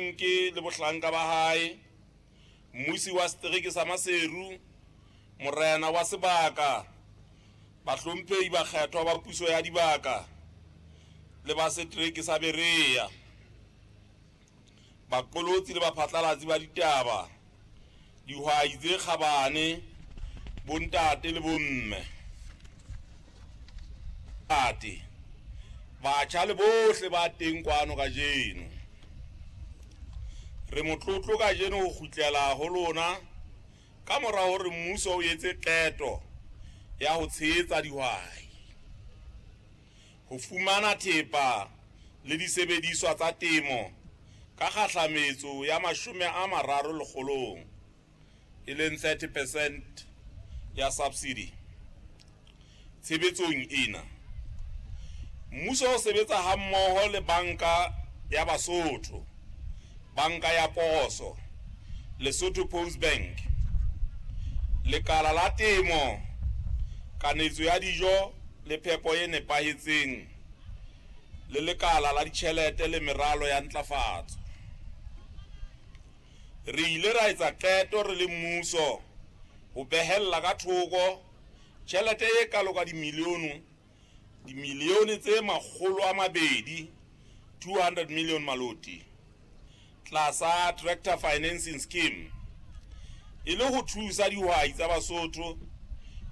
Ke le bohlanka ba hae, mmusi wa setereke sa Maseru, morena wa sebaka, bahlomphehi bakgethwa ba puso ya dibaka le ba setereke sa Berea, baqolotsi le baphatlalatsi ba ditaba, dihwai tse kgabane, bontate le bomme, ate, batjha le bohle ba teng kwano kajeno. Re motlotlo kajeno ho kgutlela ho lona ka mora hore mmuso o etse qeto ya ho tshehetsa dihwai ho fumana thepa le disebediswa tsa temo ka kgahlametso ya 30 lekgolong, e leng 30 percent ya subsidy. Tshebetsong ena, mmuso o sebetsa hammoho le Banka ya Basotho, Banka ya Poso, Lesotho Post Bank, Lekala la Temo, Kanetso ya Dijo le Phepo e Nepahetseng le Lekala la Ditjhelete le Meralo ya Ntlafatso. Re ile ra etsa qeto re le mmuso ho behella ka thoko tjhelete e kalo ka dimilione tse 200, 200 million maloti, tlasa Tractor Financing Scheme, e le ho thusa dihwai tsa Basotho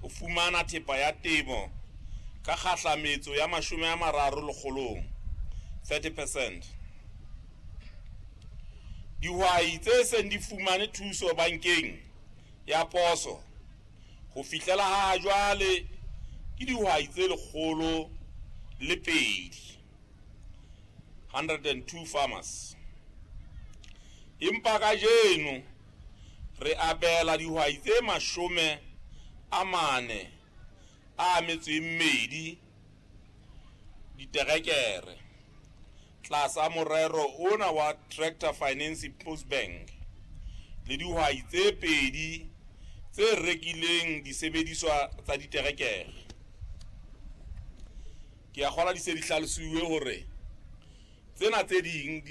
ho fumana thepa ya temo ka kgahlametso ya 30 lekgolong, 30 percent. Dihwai tse seng di fumane thuso bankeng ya poso ho fihlela ha jwale ke dihwai tse 102, 102 farmers. Empa kajeno re abela dihwai tse 42 diterekere tlasa morero ona wa Tractor Financing Post Bank le dihwai tse 2 tse rekileng disebediswa tsa diterekere. Ke a kgolwa di se di hlalosiwe hore tsena tse ding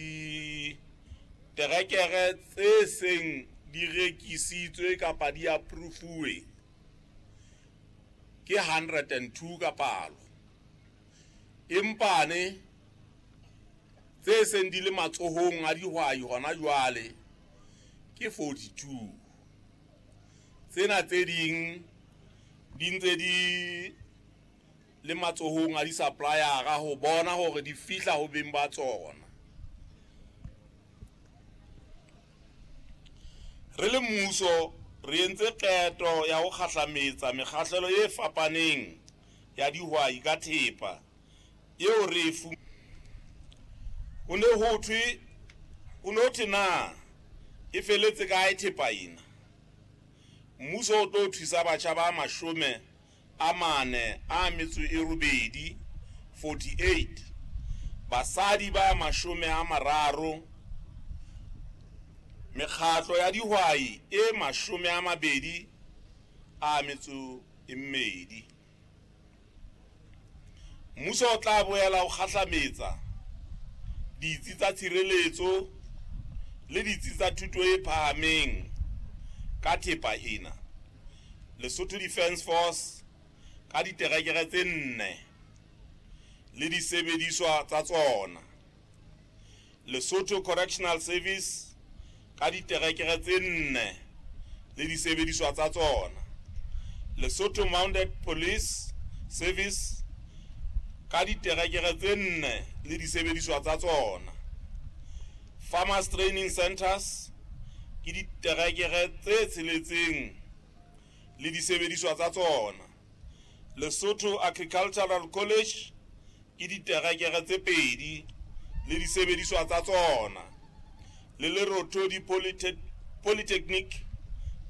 diterekere tse seng di rekisitswe kapa di approve ke 102 ka palo, empane tse seng di le matsohong a dihwai hona jwale ke 42. Tsena tse ding di ntse di le matsohong a di-supplier-a ho bona hore di fihla ho beng ba tsona. Re le mmuso re entse qeto ya ho kgahlametsa mekgahlelo e fapaneng ya dihwai ka thepa eo re e Ho ne ho thwe, ho ne ho thwe na e feletse kae thepa ena? Mmuso o tlo thusa batjha ba 48, 48, basadi ba 30, mekgatlo ya dihwai e 22. Mmuso o tla boela o kgahlametsa ditsi tsa tshireletso le ditsi tsa thuto e phahameng ka thepa ena. Lesotho Defence Force ka diterekere tse 4 le disebediswa tsa tsona. Lesotho Correctional Service ka diterekere tse 4 le disebediswa tsa tsona. Lesotho Mounted Police Service ka diterekere tse 4 le disebediswa tsa tsona. Farmers Training Centers ke diterekere tse 6 le disebediswa tsa tsona. Lesotho Agricultural College ke diterekere tse 2 le disebediswa tsa tsona. Le Lerothodi Polytechnic